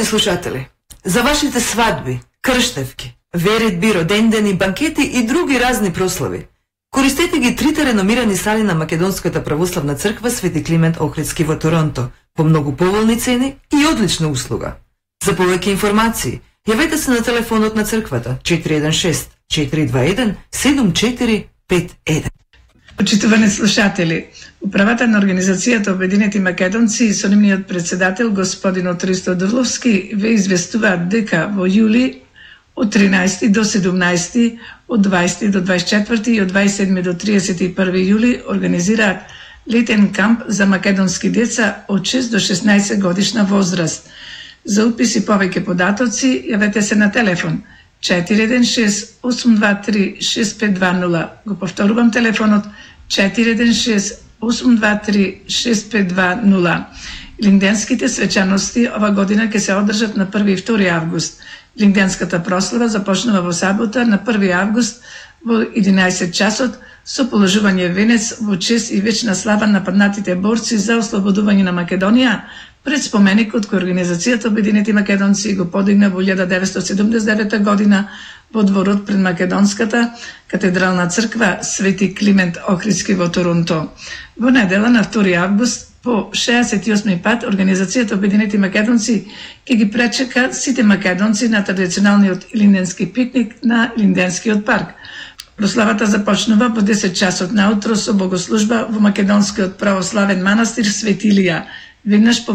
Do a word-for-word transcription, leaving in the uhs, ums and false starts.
Почитувани слушатели, за вашите свадби, крштевки, веридби, родендени, банкети и други разни прослави, користете ги трите реномирани сали на Македонската православна црква Свети Климент Охридски во Торонто по многу поволни цени и одлична услуга. За повеќе информации, јавете се на телефонот на црквата четири еден шест четири два еден седум четири пет еден. Почитувани слушатели, управата на Организацијата Обединети македонци и со нивниот председател господин Отристо Дорловски ве известуваат дека во јули од тринаесети до седумнаесети, од дваесети до дваесет и четврти и од дваесет и седми до триесет и први јули организираат летен камп за македонски деца од шест до шеснаесет годишна возраст. За упис и повеќе податоци јавете се на телефон четири еден шест осум два три шест пет два нула. Го повторувам телефонот четири еден шест осум два три шест пет два нула. Линденските свечаности ова година ќе се одржат на први и втори август. Линденската прослава започнува во сабота на први август во единаесет часот со положување венец во чест и вечна слава на паднатите борци за ослободување на Македонија пред споменикот кој Организацијата Обединети македонци го подигна во илјада деветстотини седумдесет и девета година во дворот пред Македонската катедрална црква Свети Климент Охридски во Торонто. Во недела на втори август по шеесет и осми пат Организацијата Обединети македонци ќе ги пречека сите македонци на традиционалниот линденски пикник на Линденскиот парк. Прославата започнува во десет часот наутро со богослужба во македонскиот православен манастир Свети Илија. Веднаш по